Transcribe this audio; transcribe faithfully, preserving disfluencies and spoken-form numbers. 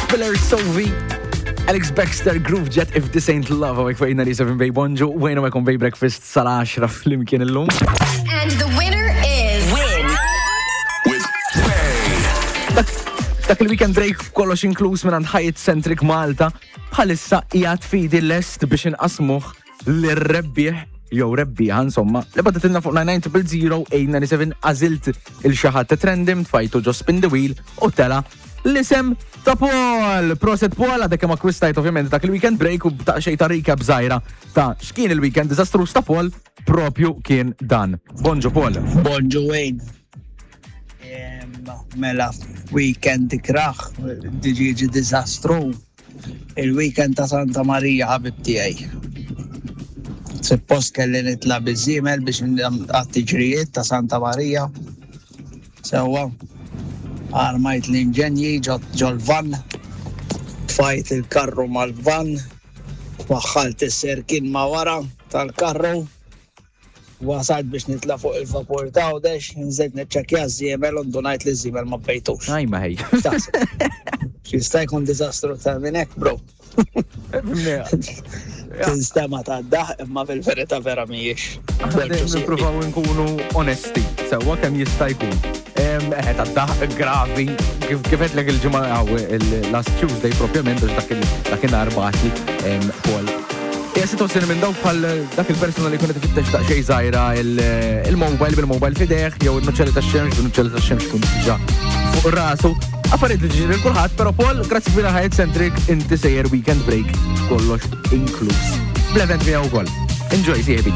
Spiller Sovi, Alex Baxter, Groove Jet, If This Ain't Love, hawnhekk fuq ninety-seven Bay Bonġu, wejna ma Bay Breakfast sal-għaxra flimkien illum. And the winner is. Win. With Bay. Dak, dak il-weekend break kollox inkluż minn Hyatt Centric Malta bħalissa qiegħed f'idi lest biex inqasmuh lir-rebbieħ jew rebbieħa insomma li bagħtitilna fuq nine nine zero zero eight nine seven. Għażilt lil xi ħadd random, tfajtu ġo spin the wheel u tela' l-isem ta' Paul. Prosit Paul, għadek kemm akkwistajt ovvjament dak il-weekend break u ta' xejn ta' recap żgħira ta' x'kien il-weekend diżastruż ta' Paul propju kien dan. Bonġu Paul. Bonġu Wayne. Em, Mela, weekend ikrah, diġiġi dizastru. Il-weekend ta' Santa Maria, ħabib tiegħi. Suppost kelli nitla' biż-żiemel biex għat-tiġrijiet ta' Santa Maria. Sewwa, armajt l-inġenji ġol-van, tfajt il-karru mal-van, waħħalt is-serkin ma' wara tal-karru, wasalt biex nitla' fuq il-vapur ta' Għawdex, nżilt niċċekkja ż-żiemel u ndunajt li ż-żiemel ma bejtux. Aj ma ħej. Jista' jkun diżastru ta' minn hekk, bro? Tinstema' ta' daħk imma fil-verità vera mhijiex. Nippruvaw nkunu onesti, sewwa kemm jista' jkun. Eħe, ta' daħk gravi, kif kif għedtlek il-ġimgħa għaw il-last Tuesday propjament, biex dak il- dakinhar bagħatli Paul. Hija situazzjoni minn dawk bħal dak il-persuna li kunet ifittex daqsxejn żgħira il-mobile bil-mobile f'idejh, jew il-nuċċali tax-xemx bil-nuċċali tax-xemx kun diġà fuq rasu. Affarijiet li ġiri kulħadd, però Paul, grazzi kbira Hyatt Centric, inti sejjer weekend break kollox inkluż. Bl-event miegħu wkoll. Enjoy, sieħbi.